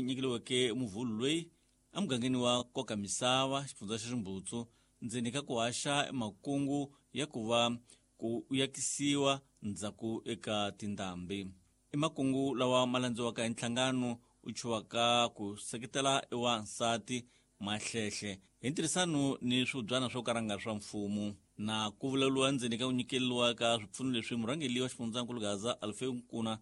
Nyikeliweke muvhulu loyi emugangeni wa koka misava xifundza xa Ximbutsu ndzeni ka ku haxa makungu ya ku va ku yakisiwa ndzhaku eka tindhambi. I makungu lawa ma landziwaka hi nhlangano u chuwaka ku seketela ewansati Mahlehle hi ntirhisano ni swibyana swo karanga swa mfumo na ku vulavuriwa ndzeni ka ku nyikeliwa ka swipfuno leswi. Murhangeli wa xifundzankulu Gaza Alfeu Nkuna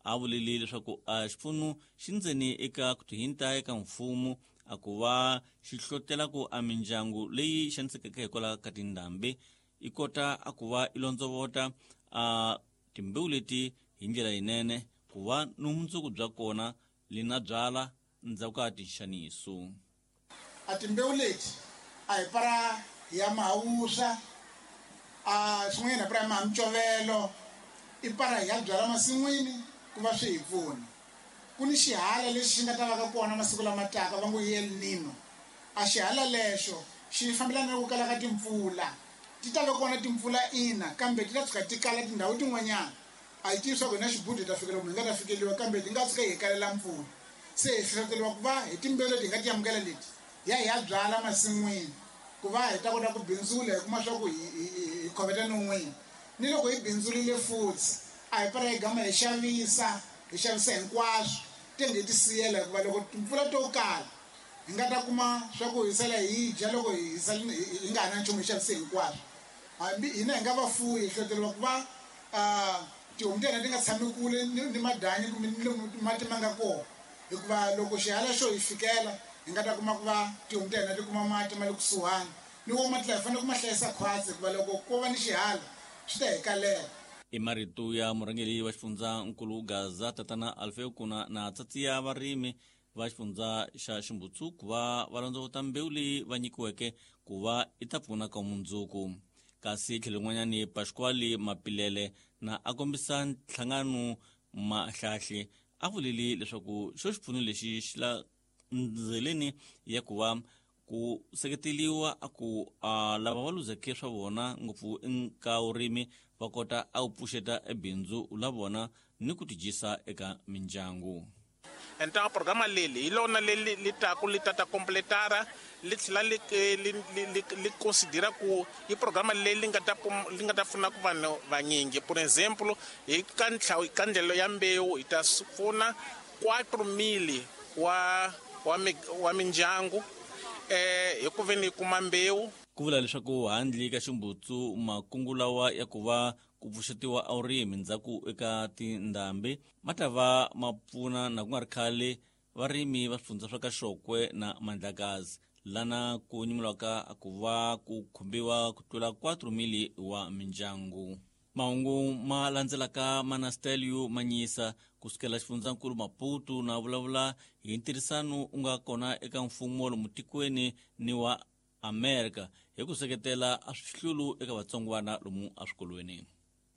a vulile leswaku a xipfuno xi ndzeni eka ku tihinta eka mfumo a ku va xi hlotela ku a mindyangu leyi xanisekeke hikwalaho ka tindhambi i kota a ku va i londzovota a timbewu leti hi ndlela yinene ku va ni vumundzuku bya kona li na byala ndzhaku ka tinxaniso. A timbewu leti a hi para ya mahawuswa, a swin'wanyana hi para ya maha micovelo, i para hi ya byala masin'wini ku va swi hi pfuna. Ku ni xihala lexi xi nga ta va ka kona masiku lama taka, va ngo i El Nino. A xihala lexo xi fambelana na ku kala ka timpfula. Ti ta va kona timpfula ina, kambe ti ta tshuka ti kala tindhawu tin'wanyana. A hi tivi swa ku hina xibudu hi ta fikela kumbe hi nga ta fikeliwa, kambe ti nga tshuka hi kalela mpfula. Se hi hlohloteriwa ku va hi timbewu leti hi nga ti amukela leti hi ya hi ya byala masin'wini ku va hi ta kota ku bindzula, hi kuma swa ku hi khoveta non'wini. Ni loko hi bindzurile futhi a hi para hi gama hi xavisa, hi xavisa hinkwaswo tenge hi ti siyela, hikuva loko timpfula to kala hi nga ta kuma swa ku hi sala hi dya loko hi sala hi nga ha na nchumu hi xavise hinkwaswo. Hambi hina hi nga vafuwi hi hlohloteriwa ku va tihomu ta hina ti nga tshami kule ni madanyi kumbe ni lomu mati ma nga kona, hikuva loko xihala xo hi fikela hi nga ta kuma ku va tihomu ta hina ti kuma mati ma le kusuhani ni wo mati lawa hi fanele ku ma hlayisa khwatsi, hikuva loko ko va ni xihala swi ta hi kalela. I marito ya murhangeri wa xifundzankulu Gaza tatana Alfeo Kuna na tsatsiya varimi va xifundza xa Ximbutsu ku va va londzovota mbewu leyi va nyikiweke ku va i ta pfuna ka mundzuku. Kasi tlhelo rin'wanyani Pasquale Mapilele na a kombisa nhlangano Mahlahle a vulile leswaku xo xipfuno lexi xi la ndzeleni ya ku va ku seketeliwa a ku a lava va luzeke swa vona ngopfu ka vurimi va kota a ku pfuxeta ebindzu la vona ni ku tidyisa eka mindyangu. Então a programa leli hi lona leli li taku li ta ta completara li tlhela li li li li considera ku i programa leyi li nga ta li nga ta pfuna ku vanhu vanyingi. Por exemplo, hi ka ntlhawu ka ndlelo ya mbewu hi ta pfuna 4000 wa wa wa mindyangu hi ku veni yi kuma mbewu. Ku vula leswaku handle ka Ximbutsu makungu lawa ya ku va ku pfuxetiwa a vurimi ndzhaku eka tindhambi ma ta va ma pfuna na ku nga ri khale varimi va swifundza swa ka Xokwe na Mandlakazi lana ku nyimulaka ku va ku khumbiwa ku tlula 4,000 wa mindyangu. Mahungu ma landzelaka ma na Stelio Manyisa kusukela xifundzankulu Maputo na vulavula hi ntirhisano u nga kona eka mfumo lomu tikweni ni wa Amerika hi ku seketela a swihlulu eka vatsongwana lomu eswikolweni.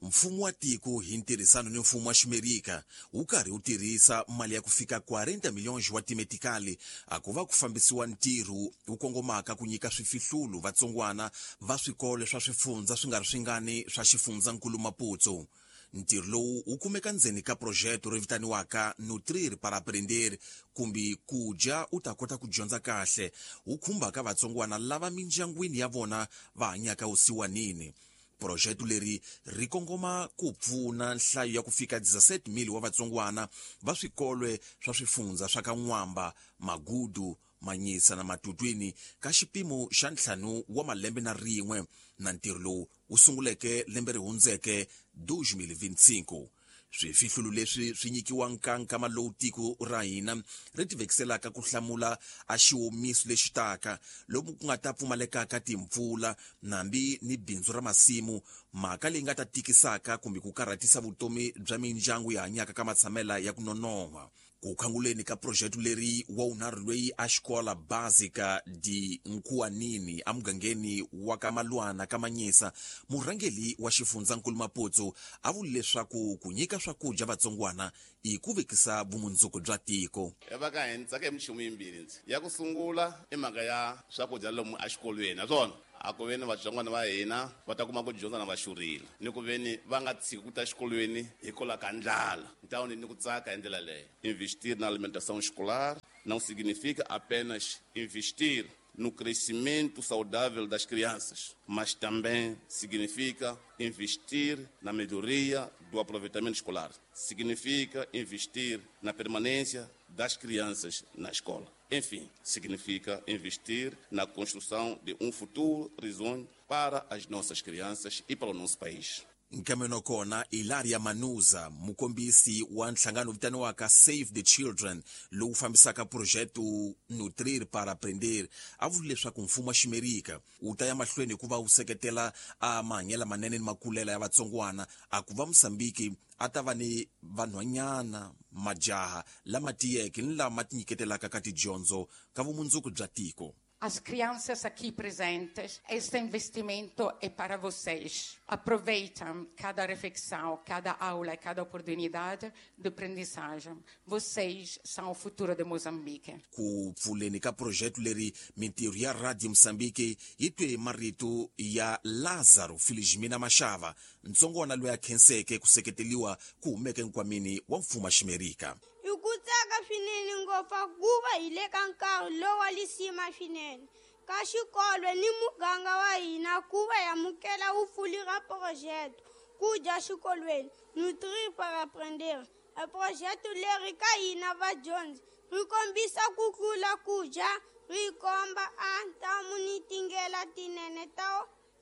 Mfumo wa tiko hi ntirhisano ni mfumo wa Ximerika wu karhi wu tirhisa mali ya ku fika 40 milhões wa timetikali a ku va ku fambisiwa ntirho wu kongomaka ku nyika swifihlulu vatsongwana va swikolo swa swifundza swi nga ri swingani swa xifundzankulu Maputo. Ntirho lowu wu kumeka ndzeni ka projeto ri vitaniwaka Nutrir para Aprender kumbe ku dya u ta kota ku dyondza kahle, wu khumbaka vatsongwana lava mindyangwini ya vona va hanyaka vusiwanini. Projeto leri ri kongoma ku pfuna nhlayo ya ku fika 17,000 wa vatsongwana va swikolwe swa swifundza swa ka N'wamba, Magudu, Manyisa na Matutwini ka xipimo xa ntlhanu wa malembe na rin'we, na ntirho lowu wu sunguleke lembe ri hundzeke 2025. Swifihlulu leswi swi nyikiwa nkankama lowu tiko ra hina ri tivekiselaka ku hlamula a xiwomiso lexi taka lomu ku nga ta pfumalekaka timpfula nambi ni bindzu ra masimu, mhaka leyi nga ta tikisaka kumbe ku karhatisa vutomi bya mindyangu yi hanyaka ka matshamela ya ku nonoha. Ku khanguleni ka projeto leri wa wunharhu loyi a xikola Básica de Nkuwanini emugangeni wa ka Malwana ka Manyisa, murhangeri wa xifundzankulu Maputo a vule leswaku ku nyika swakudya vatsongwana i ku vekisa vumundzuku bya tiko. Va ka hina tsaka hi minchumu yimbirhi ndzi ya ku sungula i mhaka ya swakudya lomu exikolweni naswona a ku veni vatsongwana va hina va ta kuma ku dyondza na va xurhile ni ku veni va nga tshiki ku ta xikolweni hikwalaho ka ndlala. Então ni ku tsaka hi ndlela leyo investir na alimentação escolar. Não significa apenas investir no crescimento saudável das crianças, mas também significa investir na melhoria do aproveitamento escolar. Significa investir na permanência das crianças na escola. Enfim, significa investir na construção de um futuro risonho para as nossas crianças e para o nosso país. Nkameno kona Ilaria Manuza, mukombisi wa nhlangano vitaniwaka Save the Children lowu fambisaka projeto Nutrir para Aprender, a vula leswaku mfumo wa Ximerika wu ta ya mahlweni ku va wu seketela a mahanyelo manene ni makulela ya vatsongwana, a ku va Mosambiki a ta va ni vanhwanyana majaha lama tiyeke ni lama tinyiketelaka ka tidyondzo ka vumundzuku bya tiko. As crianças aqui presentes, este investimento é para vocês. Aproveitem cada refeição, cada aula, cada oportunidade de aprendizagem. Vocês são o futuro de Moçambique. Ku pfuleni ka projeto leri, mintirho ya Radio Mosambiki yi twe marito ya Lázaro Felizmina Mashava, ntsongwana loyi a khenseke ku seketeliwa ku humeke nkwameni wa mfumo wa Ximerika. Hi ku tsaka swinene ngopfu hikuva hi le ka nkarhi lowa lisima swinene ka xikolo ni muganga wa hina ku va hi amukela vupfuli ra phurojete ku dya xikolweni Nutrir para Aprender. A phurojete leri ka hina vadyondzi ri kombisa ku tlula ku dya, ri komba a ntamu ni tindlela tinene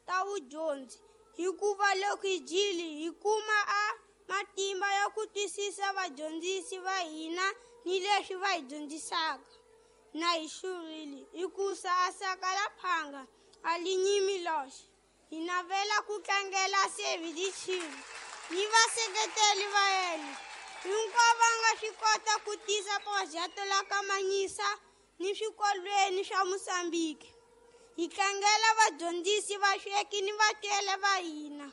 ta vudyondzi, hikuva loko hi dyile hi kuma a matimba ya ku twisisa vadyondzisi va hina ni leswi va hi dyondzisaka. Na hi xurile hikusa a saka la phanga a li nyimi loxe. Hi navela ku tlangela Save the Children ni vaseketeli va yena hinkwavo va nga swi kota ku tisa phurojete la kamanyisa ni swikolweni swa Mosambiki. Hi tlangela vadyondzisi, vasweki ni vatswele va hina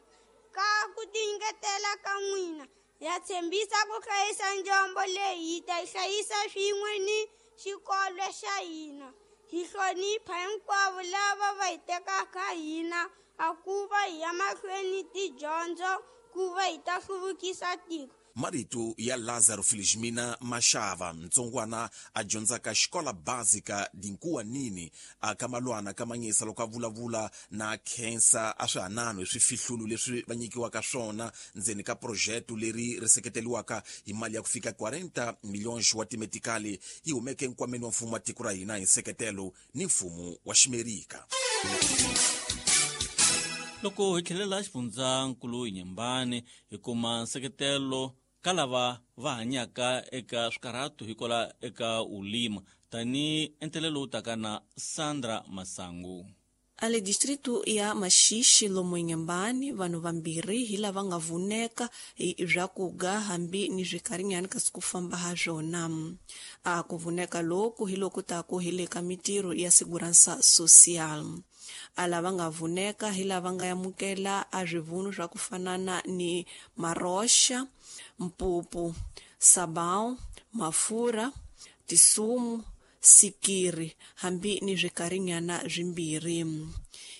ka ku tinyiketela ka n'wina. Ya tshembisa ku hlayisa njombo leyi, hi ta yi hlayisa swin'we ni xikolo xa hina. Hi hlonipha hinkwavo lava va hi tekaka hina a ku va hi ya mahlweni tidyondzo ku va hi ta hluvukisa tiko. Marito ya Lázaro Felizmina Mashava, ntsongwana a dyondzaka xikola básica Dinkuwanini a ka Malwana ka Manyisa, loko a vulavula na khensa a swihanano hi swifihlulo leswi va nyikiwaka swona ndzeni ka projeto leri ri seketeriwaka hi mali ya ku fika 40 milhões wa timetikali yi humeke nkwameni wa mfumo wa tiko ra hina hi nseketelo ni mfumo wa Ximerika. Loko hi tlhelela xifundzankulu hi Nyembane, hi kuma nseketelo ka lava va hanyaka eka swikarhato hikwalaho eka ulima, tani entelelo lowu taka na Sandra Masangu. Ale distrito ya Maxixe lomu Inhambane, vanhu vambirhi hi lava nga vuneka hi swakuga hambi ni swikarinyani kasi ku famba ha swona. A ku vuneka loku hi loku taku hi le ka mitirho ya segurança social. A lava nga vuneka hi lava nga amukela a swivunu swa ku fanana ni maroxa, mpupu, sabão, mafurha, tisumu, sikiri hambi ni swikarinyana swimbirhi.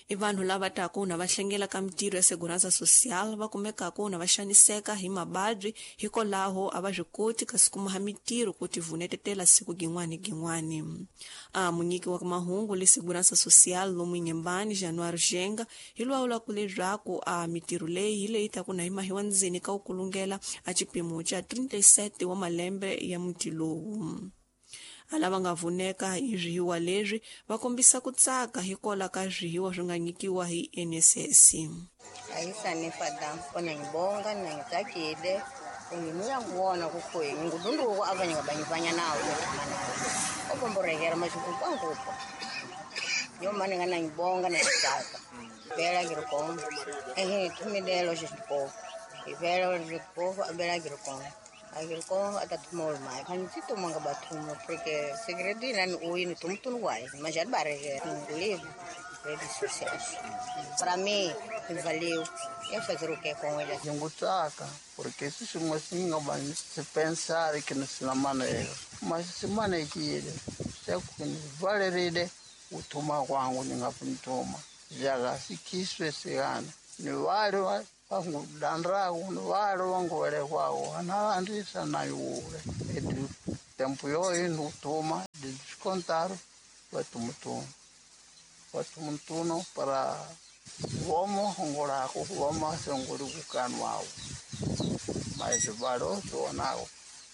I vanhu lava taku na va hlengela ka mitirho ya segurança social va kumekaka na va xaniseka hi mavabyi, hikwalaho a va swi koti kasi kuma ha mitirho ku ti vunetetela siku gin'wani gin'wani. A munyiki wa mahungu le segurança social lomu Inhambane, Januário Genga, hi lwawula ku leswaku a mitirho leyi hi leyi taku na yi mahiwa ndzeni ka ku kulungela a xipimo xa 37 wa malembe ya muti lowu. A lava nga vuneka hi swihiwa leswi va kombisa ku tsaka hikwalaho ka swihiwa swi nga nyikiwa hi NSS. Ayisanifada kona ngibonga nangitsakile unginuya ngubona kukhoyi ngudunduko abanye ngabanyivanya nawo obomborekera mashikuku yo mane ngana ngibonga nangitsaka bela ngirikomba ehe thumilelo xixikofu ivela xixikofu abela ngirikomba agiriko atatumol mai kan manga batumo porque segredo ina ui no tumutun guai mas já barre livre redes sociais para mim valeu eu fazer o que com ele. Ngutaka porque se singa bani se pensar que não se maneira mas se manekile se valerile utuma kwangu ningapuntuma jaga sikiswe sigana ni wale vangudandraku ni vale vanguvelekwaku analandisa na yule edi tempo yoyi ndikutuma Contaram, vai tumutuno. Vai tumutuno para vomo hongorako, vomo songorukano ao. Mas varo sonao,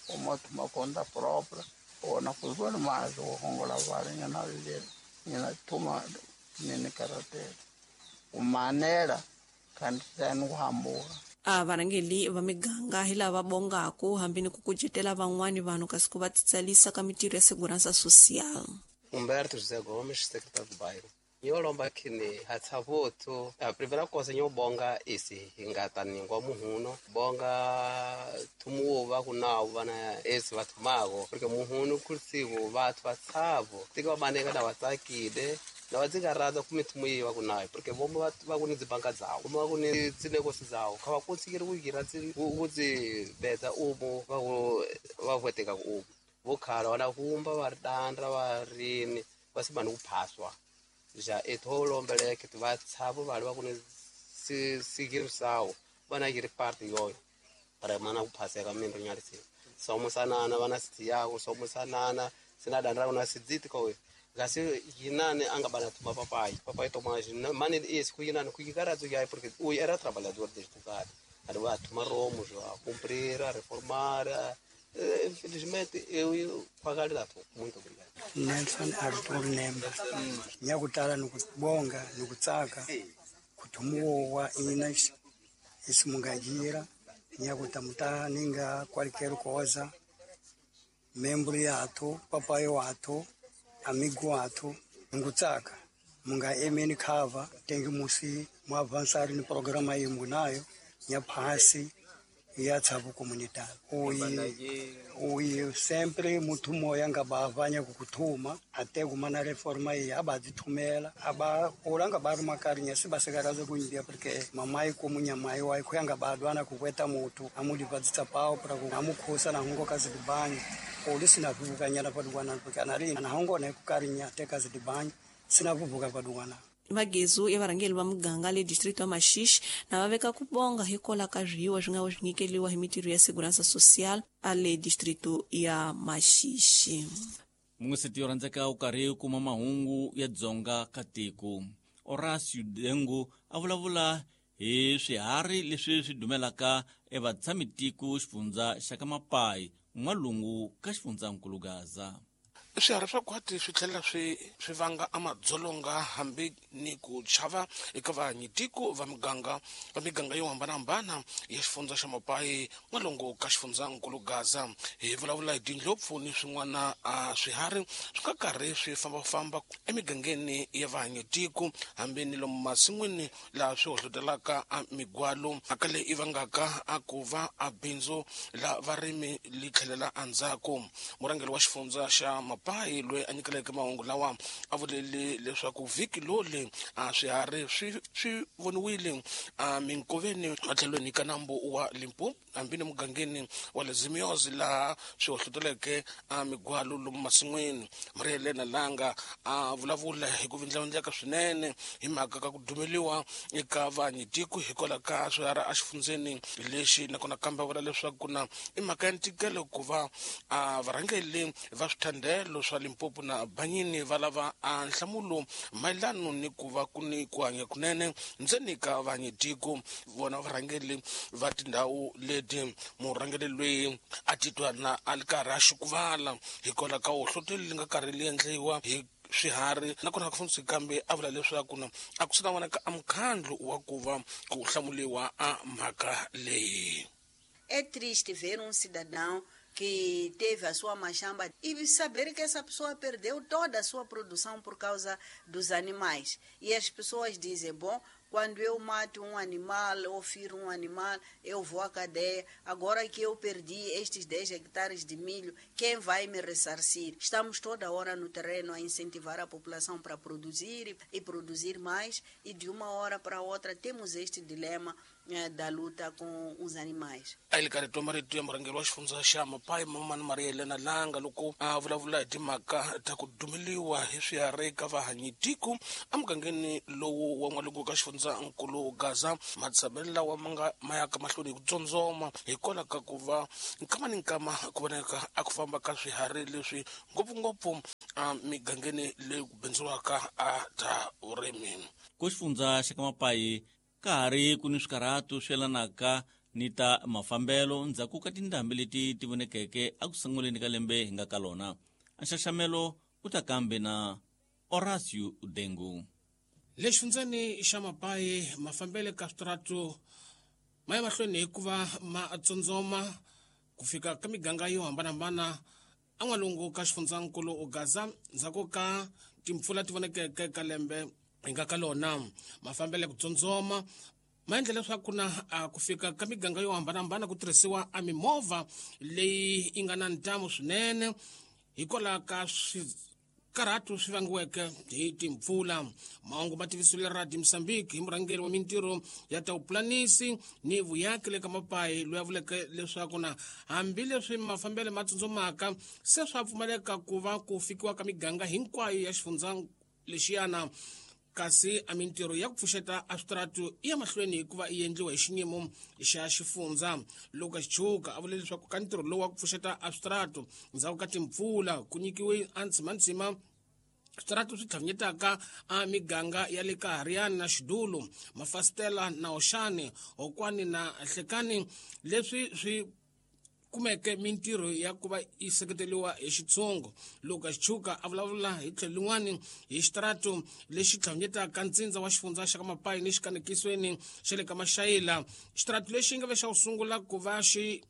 o toma conta própria, ou na cultura mais o hongoravara na lele, na toma nene karatera. O maneira kantanu hambuka. A varhangeli va miganga hi lava bongaku hambi ni ku kucetela van'wani vanhu kasi ku va titsalisa ka mitirho ya segurança social. Humberto José Gomes, secretário do bairro. Yolomba kini hatsavoto a primeira coisa nyo bonga isi hingata ningwa muhuno bonga tumuwo vakunawo vana esi vatumago porque muhuno kursivo vatu vatsavo tika vabaneka na vatsakile na vatsikarata kumitumu iyi vakunayo porque vomo vakuni dzibanga dzawo vomo vakuni tsinekosi dzawo kha vakonsikiri kuyira kudzibedza umo vavueteka umo vokhala vana vumba va ri dandra va rini va simani kuphaswa ja etho lombeleke va tshavo vali va ku ni sigirisawo vana yiri parte yoyo para mana kuphaseka minro nyalisi somusanana vana sitiyako somusanana sina dandra kuna sidziti ko gasi yinane anga bana tuma papai papai tomaji mane esse ku yinane ku yikaradzo yayi porque o era trabalhador desde o cara ali va tuma romo já cumprir a reformar. Infelizmente eu pagar dato. Muito obrigado. Nelson Arthur Nemba. Nyakutala nukubonga nukutsaka kutumuwa ina isimungajira nyakutamta ninga qualquer coisa membro yato papai wato amigo wato ngutsaka munga emeni khava tengi musi muavançar ni programa imunayo nyaphasi ya tshabu comunidade uyi sempre muthu moya nga bavanya kukuthuma ate kumana reforma iyi abadzithumela aba ulanga bari makarinya sibasekaraze kundia porque mamai kumunyamai wai khuyanga badwana kukweta muthu amulipadzitsa pao para amukhusa nahungo kazidibanya uli sinavuvukanyana padukwana porque anari nahungo naikukarinya te kazidibanya sinavuvuka padukwana. Vagezu ya varhangeli va muganga le distrito ya Maxixe na va veka ku bonga hikola ka zwiwa swi nga swi nyikeliwa hi mitirho ya segurança social a le distrito ya Maxixe. Mun'weseti yo rhandzeka u karhi u kuma mahungu ya Dzonga ka tiko. Horacio Dengo a vulavula hi swiharhi leswi swi dumelaka evatshamitiko xifundza xa ka Mapai n'walungu ka xifundzankulu Gaza. Swiharhi swa khwati swi tlhela swi vanga amadzolonga hambi ni ku chava eka vahanyitiko va miganga yo hambanahambana ya xifundza xa Mapai n'walungu ka xifundzankulu Gaza. Hi vulavula hi tindlopfu ni swin'wana a swiharhi swi nga karhi swi fambafamba emigangeni ya vahanyitiko hambi ni lomu masin'wini laha swi hohlotelaka a migwalo mhaka leyi i vangaka a ku va a bindzu la varimi li tlhelela endzhaku. Murhangeri wa xifundza xa Mapai loyi a nyikeleke mahungu lawa a vulele leswaku vhiki loli a swiharhi swi voniwile a minkoveni matlhelweni ka nambu wa Limpopo hambi ni mugangeni wa le Zimiozi laha swi hohloteleke a migwalo lomu masin'wini. Maria Helena Langa a vulavula hi ku vindlavindleka swinene hi mhaka ka ku dumeliwa eka vahanyitiko hikwalaho ka swiharhi exifundzeni lexi, nakona kambe a vula leswaku na i mhaka ya ntikelo ku va a varhangeli va swithandelo swa Limpopo na Banyini va lava a nhlamulo mayelano ni ku va ku ni ku hanya kunene ndzeni ka vahanyitiko vona varhangeli va tindhawu leti. Murhangeri loyi a titwa na a ri karhi a xukuvala hikwalaho ka hohlotelo li nga karhi li endliwa hi swiharhi, nakona ku fundzi kambe a vula leswaku na a ku swi na vonaka a mukhandlu wa ku va ku hlamuliwa a mhaka leyi. É triste ver cidadão que teve a sua machamba e saber que essa pessoa perdeu toda a sua produção por causa dos animais. E as pessoas dizem, bom, quando eu mato um animal ou firo um animal, eu vou à cadeia. Agora que eu perdi estes 10 hectares de milho, quem vai me ressarcir? Estamos toda hora no terreno a incentivar a população para produzir e produzir mais, e de uma hora para outra temos este dilema da luta com os animais. A yi karhi twa marito ya murhangeri wa xifundza xa Mapai Mamani Maria Helena Langa loko a vulavula hi timhaka ta ku dumeliwa hi swiharhi ka vahanyitiko emugangeni lowu wa n'walungu ka xifundzankulu Gaza. Matshamelo lawa ma nga ma yaka mahlweni hi ku tsondzoma hikwalaho ka ku va nkama ni nkama ku vonaka a ku famba ka swiharhi leswi ngopfungopfu emigangeni leyi ku bindzuriwaka a ta vurimi. Ku xifundza xa ka Mapayi ka ha ri ku ni swikarhatu swi yelanaka ni ta mafambelo ndzhaku ka tindhambi leti ti vonekeke eku sunguleni ka lembe hi nga ka lona. Nxaxamelo wu ta kambe na Horacio Dengu. Le xifundzeni xa Mapayi mafambele ka switaratu ma ya mahlweni hikuva ma tsondzoma ku fika ka miganga yo hambanahambana en'walungu ka xifundzankulu Gaza ndzhaku ka timpfula ti vonekeke ka lembe hi nga ka lona. Mafambele ku tsondzoma ma endla leswaku na ku fika ka miganga yo hambanahambana ku tirhisiwa a mimovha leyi yi nga na ntamu swinene hikwalaho ka swikarhatu swi vangiweke hi timpfula. Mahungu ma tivisiwile Radio Mozambique hi murhangeri wa mintirho ya ta vupulanisi ni vuyaki le ka Mapayi loyi a vuleke leswaku na hambileswi mafambelo ma tsundzumaka se swa pfumaleka ku va ku fikiwa ka miganga hinkwayo ya xifundza lexiyana, kasi a mintirho ya ku pfuxeta a switaratu i ya mahlweni hikuva yi endliwa hi xinyimo xa xifundza. Lucas Chuka a vule leswaku ka ntirho lowu wa ku pfuxeta a switaratu ndzhaku ka timpfula ku nyikiwe a ntsimantsima switaratu swi tlhavinyetaka a miganga ya le ka Hariani na Xidulu, Mafasitela na Oxani, Hokwani na Hlekani, leswi swi kumeke mintirho ya ku va yi seketeriwa hi xitshungu. Lucas Chuka a vulavula hi tlhelo lin'wani hi xitaratu lexi tlhavinyetaka ntsindza wa xifundza xa ka Mapayi ni xikanekisweni xa le ka Maxayila. Xitaratu lexi nga ve xa ku sungula ku va xi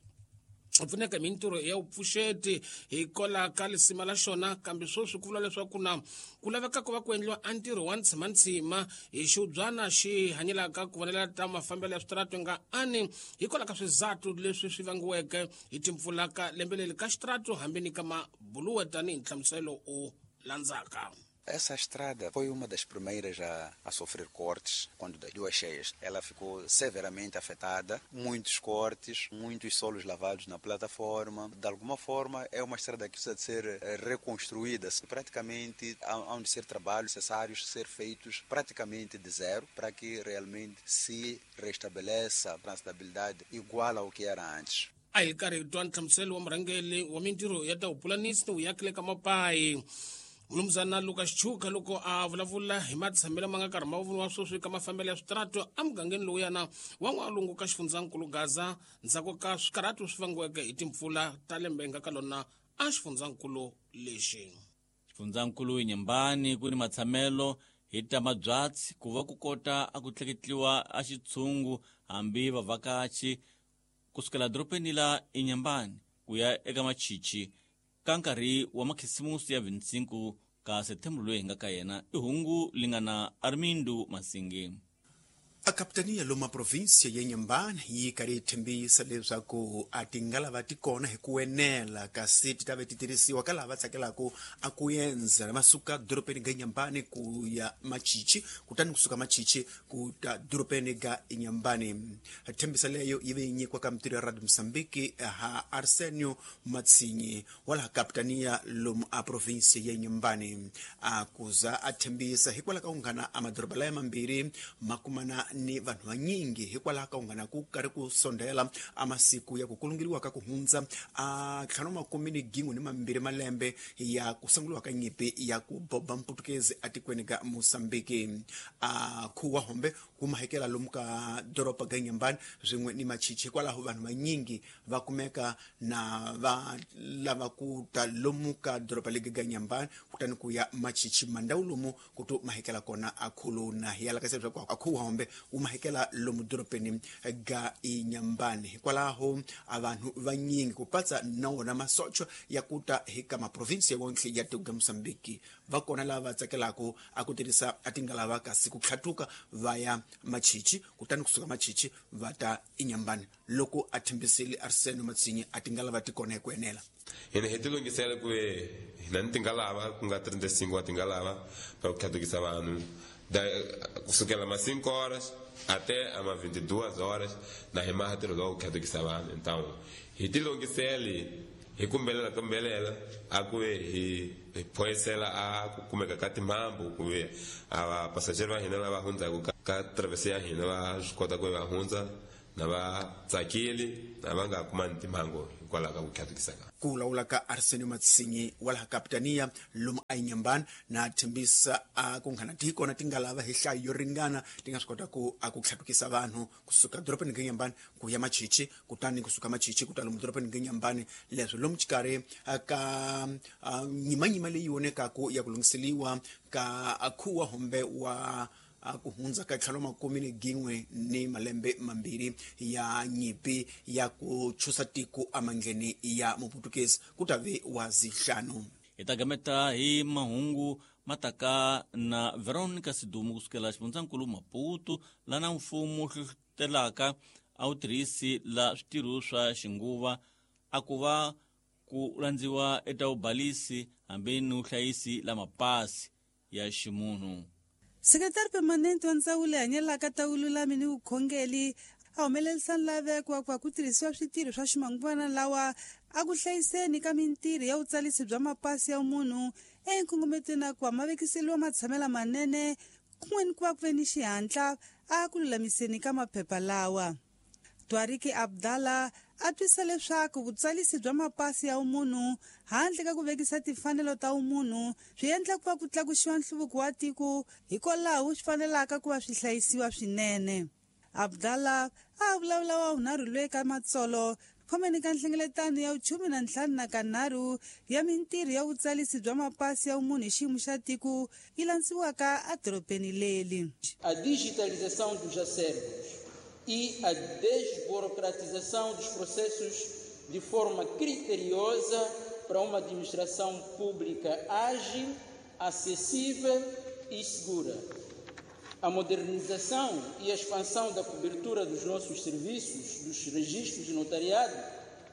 pfuneka hi mintirho ya vupfuxeti hikwalaho ka lisima la xona, kambe sweswi ku vula leswaku na ku laveka ku va ku endliwa a ntirho wa ntsimantsima hi xiubyana xi hanyelaka ku vonela ta mafambelo ya switaratu nga ani hikwalaho ka swizathu leswi swi vangiweke hi timpfula ka lembe leri ka xitaratu hambi ni ka mabuluwe, tanihi nhlamuselo u landzaka. Essa estrada foi uma das primeiras a sofrer cortes quando das duas cheias. Ela ficou severamente afetada, muitos cortes, muitos solos lavados na plataforma. De alguma forma, é uma estrada que precisa de ser reconstruída. Praticamente, há de ser trabalhos necessários ser feitos praticamente de zero para que realmente se restabeleça a transitabilidade igual ao que era antes. A hi karhi hi twa nhlamuselo wa murhangeri wa mintirho ya ta vupulanisi ni vuyaki le ka Mapayi, Mnumzana Lucas Chuka, loko a vulavula hi matshamelo ma nga karhi ma voniwa sweswi ka mafambelo ya switaratu emugangeni lowuyana wa n'walungu ka xifundzankulu Gaza ndzhaku ka swikarhatu swi vangiweke hi timpfula ta lembe nga ka lona a xifundzankulu lexi. Xifundzankulu Inhambane ku ni matshamelo hi ta mabyatsi ku va ku kota a ku tleketliwa a xitshungu hambi vavhakachi kusukela dorobeni la Inhambane ku ya eka Machichi ka nkarhi wa makhisimusi ya 25 ka September loyi hi nga ka yena. I hungu li nga na Armindo Masingi. A kapitania loma província ya Inhambane yi karhi yi tshembisa leswaku a ti nga lava ti kona hi ku enela, kasi ti ta ve ti tirhisiwa ka lava tsakelaka a ku endzela va suka dorobeni ga Inhambane ku ya Machichi, kutani kusuka Machichi ku ta dorobeni ga Inhambane. Tshembisa leyo yi ve yi nyikiwa ka mintirho ya Radio Mozambique ha Arsenio Matsinyi wa laha kapitania lomu a província ya Inhambane, a kuza a tshembisa hikwalaho ka ku nghana a madoroba laya mambirhi ma kumana ni vanhu vanyingi hikwalaho ka ku nghana ku karhi ku sondela a masiku ya ku kulungeriwa ka ku hundza a 52 malembe ya ku sunguliwa ka nyimpi ya ku boba mputukezi atikweni ka Mozambique. A khuwa hombe wu mahekela lomu ka doroba ga Inhambane swin'we ni Machichi, hikwalaho vanhu vanyingi va kumeka na va lava ku ta lomu ka doroba legi ga Inhambane kutani ku ya Machichi, mandhawu lomu ku to mahekela kona a khuluna. Hi alakasa leswaku a khuwa hombe wu mahekela lomu dorobeni ga Inhambane, hikwalaho a vanhu vanyingi ku patsa na wona masocho ya ku ta hi ka maprovinsi wonke ya tiko ga Mozambique va kona lava va tsakelaka a ku tirhisa a tingalava kasi ku tlhatuka va ya Machichi, kutani kusuka Machichi va ta Inhambane. Loko a tshembisile Arsenio Matsinyi a tingalava ti kona hi ku enela. Hina hi tilunghisela ku hina ni tingalava ku nga 35 wa tingalava pa ku tlhatukisa vanhu kusukela ma 5 horas até ama 22 horas na hi maha ntirho lowu ku tlhatukisa vanhu. Então hi tilunghisele hi kumbelela a ku hi phoyisela a ku kumeka ka timhambu ku a passageiro va hina lava hundzaka ka travessia ya hina va swi kota ku va hundza Na va tsakile na va nga kumani timhangu hikwalaho ka ku tlhatukisa ka. Ku vulavula ka Arsenio Matsinyi wa laha kapitania lomu a Inhambane na tshembisa a ku nghana tikona ti nga lava hi nhlayo yo ringana ti nga swi kota ku a ku tlhatukisa vanhu kusuka dorobeni ka Inhambane ku ya Machichi, kutani kusuka Machichi ku ta lomu dorobeni ka Inhambane. Leswi lomu xikarhi ka nyimanyima leyi vonekaku ya ku lunghiseliwa ka khuwa humbe wa ku hundza ka tlhelo makume ni gin'we ni malembe mambirhi ya nyimpi ya ku chusa tiko emandleni ya muputukezi ku ta ve wa zihlanu. Hi ta gameta hi mahungu mataka na Veronica Sidumo kusukela xifundzankulu Maputo lana mfumo hlohlotelaka a wu tirhisi la switirho swa xinguva a ku va ku landziwa eta vubalisi hambi ni vuhlayisi la mapasi ya ximunhu. Sekretari permanente wa ndzawulo hanyelaka ta vululami ni vukhongeli a humelerisa nlaveko wa ku va ku tirhisiwa switirho swa ximanguvana lawa a ku hlayiseni ka mintirho ya vutsalisi bya mapasi ya munhu enkongometweni a ku va ma vekiseliwa matshamela manene kun'we ni ku va ku ve ni xihatla a ku lulamiseni ka maphepha lawa. Twariki Abdallah a twisa leswaku vutsalisi bya mapasi ya vumunhu handle ka ku vekisa timfanelo ta vumunhu swi endla ku va ku tlakuxiwa nhluvuko wa tiko, hikwalaho swi fanelaka ku va swi hlayisiwa swinene. Abdallah a vulavula wa vunharhu loyi ka matsolo khomeni ka nhlengeletano ya vuchumu na ntlhanu na kanharhu ya mintirho ya vutsalisi bya mapasi ya vumunhu hi xiyimo xa tiko yi landziwaka edorobeni leli. A digitalização dos acervos e a desburocratização dos processos de forma criteriosa para uma administração pública ágil, acessível e segura. A modernização e a expansão da cobertura dos nossos serviços, dos registros de notariado,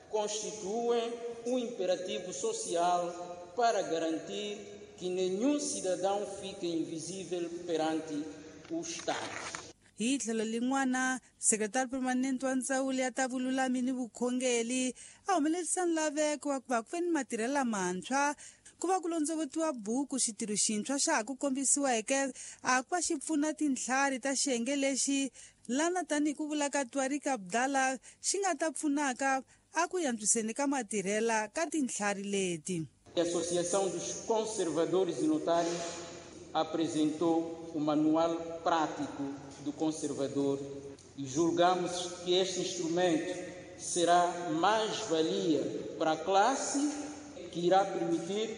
constituem um imperativo social para garantir que nenhum cidadão fique invisível perante o Estado. Hi tlhelo lin'wana, sekretari permanente wa ndzawulo ya ta vululami ni vukhongeli a humelerisa nlaveko wa ku va ku ve ni matirhelo lamantshwa ku va ku londzovotiwa buku xitirho xintshwa xa ha ku kombisiweke a ku va xi pfuna tintlhari ta xiyenge lexi lana tanihi ku vula ka Twariki Abdallah xi nga ta pfunaka a ku yantswiseni ka matirhela ka tintlhari leti. A Associação dos Conservadores e Notários apresentou o Manual Prático do Conservador e julgamos que este instrumento será mais-valia para a classe, que irá permitir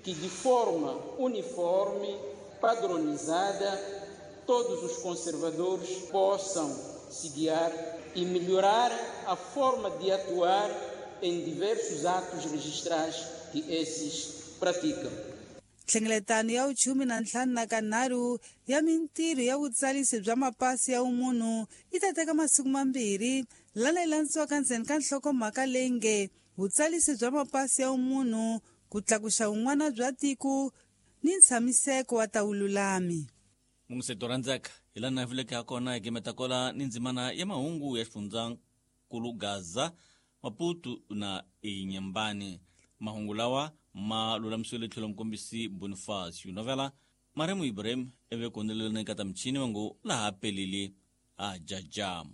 que, de forma uniforme, padronizada, todos os conservadores possam se guiar e melhorar a forma de atuar em diversos atos registrais que esses praticam. Nhlengeletano ya vuchumu na ntlhanu na kanharhu ya mintirho ya vutsalisi bya mapasi ya vumunhu yi ta teka masiku mambirhi lana yi landziwaka ndzeni ka nhlokomhaka leyi nge vutsalisi bya mapasi ya vumunhu ku tlakuxa vun'wana bya tiko ni ntshamiseko wa ta vululami. Mungiseto rhandzeka hi laha na vuleke ha kona hi gemeta kola ni ndzimana ya mahungu ya xifundzankulu Gaza, Maputo na Inhambane. Mahungu lawa ma lulamisiwile tlhelo mukombisi Boniface Novela Maremu Ibrahim eve kondelelana eka ta michini vango laha pelile a jajama.